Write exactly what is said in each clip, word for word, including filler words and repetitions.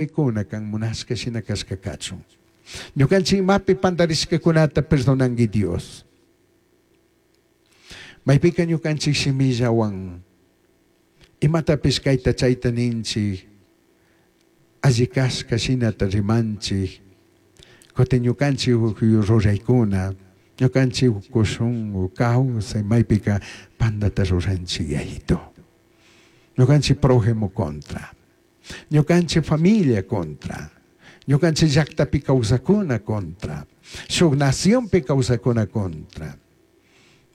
Kuna kan munashka shina kashka kachun. Ñukanchik imapi pandarishkakunata perdonanki Dios. Maypika ñukanchik shimillawan imatapish kayta chayta ninchik, alli kashka shinata rimanchik, kutin ñukanchik ruraykuna, ñukanchik shunku kawsay maypika pandata ruranchik, Yayito. Ñukanchik prójimo contra, ñukanchik familia contra, ñukanchik llaktapi kawsakuna contra, shuk nacionpi kawsakuna contra.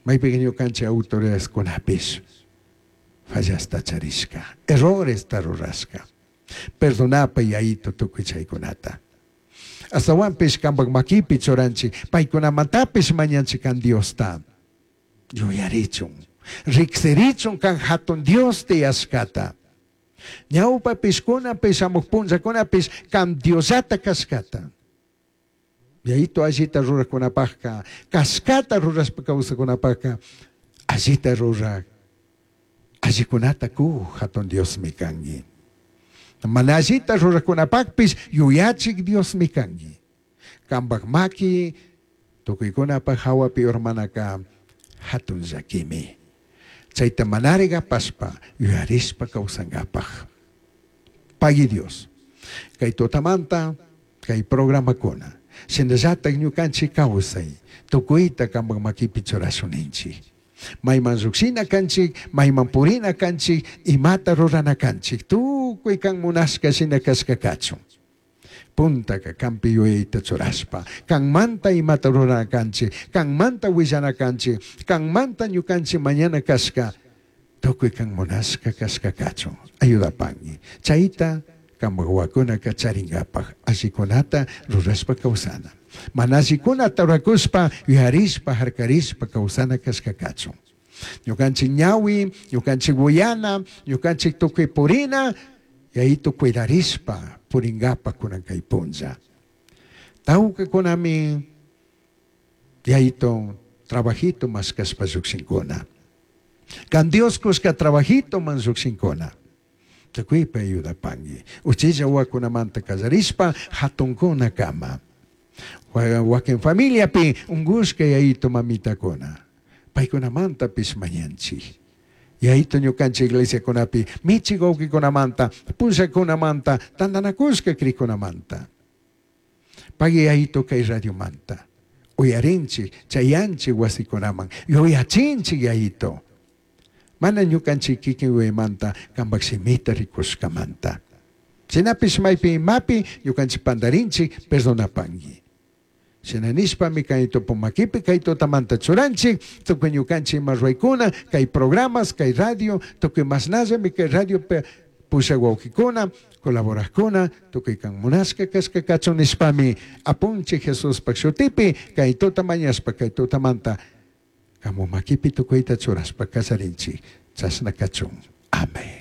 Maypika ñukanchik autoridadeskunapish fallasta charishka, erroresta rurashka. Perdonapay, Yayito, tukuy chaykunata. Astawanpish kampak makipi churanchik, paykunamantapish mañanchik kan Diosta. Yuyarichun, riksirichun kan hatun Dios tiyashkata. Ñawpapish kunapish shamuq punllakunapish kan Diosllata kashkata. Yayito, allita rurakunapaqka, kashkata rurashpa kawsakunapaqka, allita rurak, allikunata ku hatun Diosmi kanki. Mana allita rurakunapaqpish yuyachik Diosmi kanki. Kampak maki tukuykunapaq hawapi urmanaka hatun llakimi. Chayta manari apashpa yuyarishpa kawsankapaq. Pagui Dios. Kay tutamanta kay programakuna. Shinallatak ñukanchik kawsay tukuyta kampak makipi churashun ninchik. Mayman llukshina kanchik, mayman purina kanchik, imata rurana kanchik, tukuy kan munashka shina kashka kachun. Puntaka kanpi yuyayta churashpa, kanmanta imata rurana kanchik, kanmanta willana kanchik, kanmanta ñukanchik mañana kashka, tukuy kan munashka kashka kachun. Ayudapanki. Chayta kampak wawakunaka charingapaj allikunata rurashpa kawsana. Mana allikunata rurakushpa yuyarishpa harkarishpa kawsana kashka kachun. Ñukanchik ñawi, ñukanchik uyana, ñukanchik tukuy purina, Yayito, cuidarishpa puringapa kunan kay punlla. Tawkakunami, Yayito, trabajito mashkashpa llukshinkuna. Kan Dios kushka trabajito man llukshinkuna. Tukuypi ayudapanki. Uchilla wawakunamanta kallarishpa hatunkuna kama. Wakin familiapi ungushka, Yayito, mamitakuna. Paykunamantapish mañanchik. Yayito, ñukanchik iglesiakunapi michik wawqikunamanta, pushakunamanta, tantanakushka krikunamanta. Pagui, Yayito, kay radiomanta. Uyarinchik, chayanchik wasikunaman, yuyachinchik, Yayito. Mana ñukanchik kikin yuyaymanta, kampak shimita rikushkamanta. Shinapish maypi imapi ñukanchik pandarinchik, perdonapanki. Shina nishpami kay tupumakipi kay tutamanta churanchik, tukuy ñukanchik ima ruraykuna, kay programas, kay radio, tukuy mashnallami kay radio pushak wawqikuna, colaborakuna, tukuy kan munashka kashka kachun nishpami apunchik Jesuspak shutipi kay tuta mañashpa kay tutamanta kamu makipi tukuyta churashpa kallarinchik, chashna kachun. Amén.